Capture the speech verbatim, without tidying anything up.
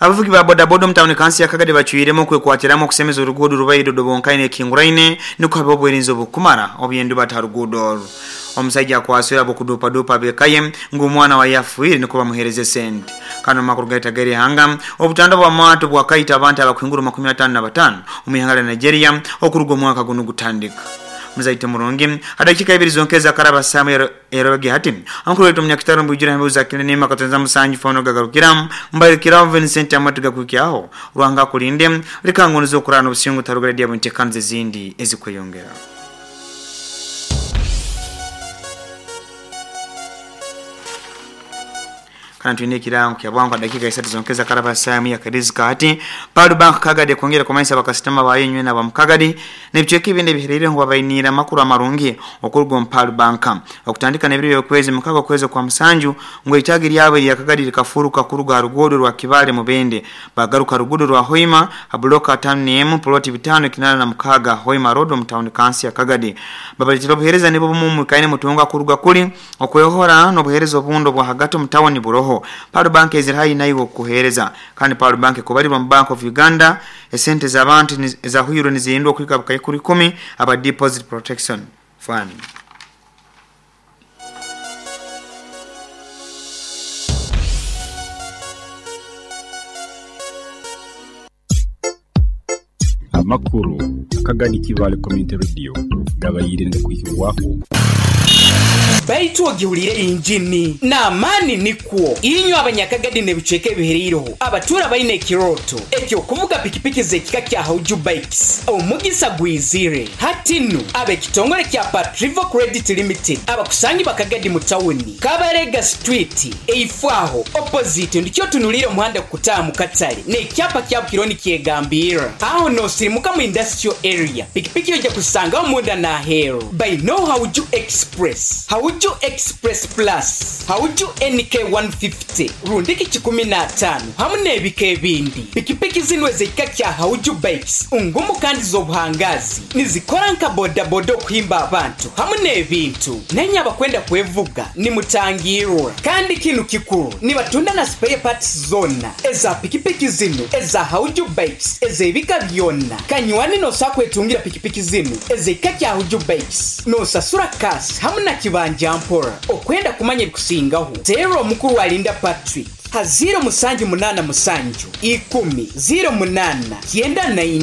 Abavugi ba bodaboda omu tawuni kansi ya Kagadi bacwiremu okwekwatiramu okusemeza oruguudo rubaire rudobonkaine ekinguraine nikwo habe obwerinzi obukumara obyenduba ha ruguudo orwo. Omusaija akwasire ab'okudupadupa ab'eka ye ngu omwana waye afiire nikwo bamuheereza esente. Kandi omu makuru gaitu ag'erihanga, obutanda bw'amaato bwakaita abantu abakuhingura makumi ataano na bataano omu ihanga lya Nigeria okuruga omwaka gunu gutandika. Muzaite murungi, adakiika ibiri zonka ezakaraba saamu erobege hati ankuru waitu omunyakitaro mbwijura embuzi akile katonza musanju fano gagarukira mbairikiraho Vincent amatu gakwikyaho Ruhanga kulinde likangunuza okurana obusingu tarugara dia buntekanze ezindi ezikweyongera. Kana twine ekirango kya bwangu dakika isatu zonka ezakaraba saamu ya karizika hati Palu Bank Kagadi kwongera kumanyisa bakasitoma bayo nywe na bamukagadi n'ebicweka ebindi ebihererire ngu babainiire amakuru amarungi okuruga omu Palu Bank okutandika n'ebiro by'okwezi mukaaga okwezi kwa musanju ngu eitagi lyabo erya Kagadi likafuruka kuruga ha ruguudo rwa Kibale Mubende bagaruka ruguudo rwa Hoima ha buloka ataano n'emu ploti bitaano kinaana na mukaaga Hoima Road omu tawuni kansi ya Kagadi. Babaletera obuheereza nibwo bumu mwikaine mutunga kuruga kuli okwehora n'obuheereza obundi obwa hagati omu tawuni buroho. Palu Bank eziri haihi naiwe okukuheereza. Kandi Palu Bank ekubalirwa mu Bank of Uganda esente z'abantu ezahwirwe nizirindwa okuhika bukaikuru ikumi aba Deposit Protection Fund. Amakuru Kagadi Kibale Community Radio gabaire ngakwikibwaku. Baitu ogihulire injini n'amaani nikwo inywe abanyakagadi n'ebicweka ebihereireho abatuura baine ekirooto ekyokuvuga pikipiki z'ekika kya Hauju Bikes omugisa gwizire hatinu ab'ekitongole kya Patrivo Credit Limited abakusangi bakagadi mu tawuni Kabarega Street eifaaho opposite ndikyo otunulire omuhanda kukutaaha mu katale n'ekyapa kya Bukironi kyegambirra aho n'osirimuka mu industrial area pikipiki ojja kusangaho munda n'aheeru baino Hauju Express, Hauju Express Plus, Hauju N K one fifty, rundiki kikumi na ataano hamu n'ebika ebindi. Pikipiki zino ez'ekika kya Hauju Bikes ngumu kandi z'obuhangazi nizikora nka bodaboda okuhimba abantu hamu n'ebintu. Nenye abakwenda kwevuga nimutangirwa kandi kinu kikuru nibatunda na spare parts zona eza pikipiki zino eza Hauju Bikes ez'ebika byonna. Kanywani n'osobola kwetungira pikipiki zino ez'ekika kya Hauju Bikes n'osasura kasi hamu na kibanja mpora. Okwenda kumanya ebikusingaho teera omukuru Alinda Patrick ha ziro musanju munaana musanju ikumi ziro munaana kyenda na ina.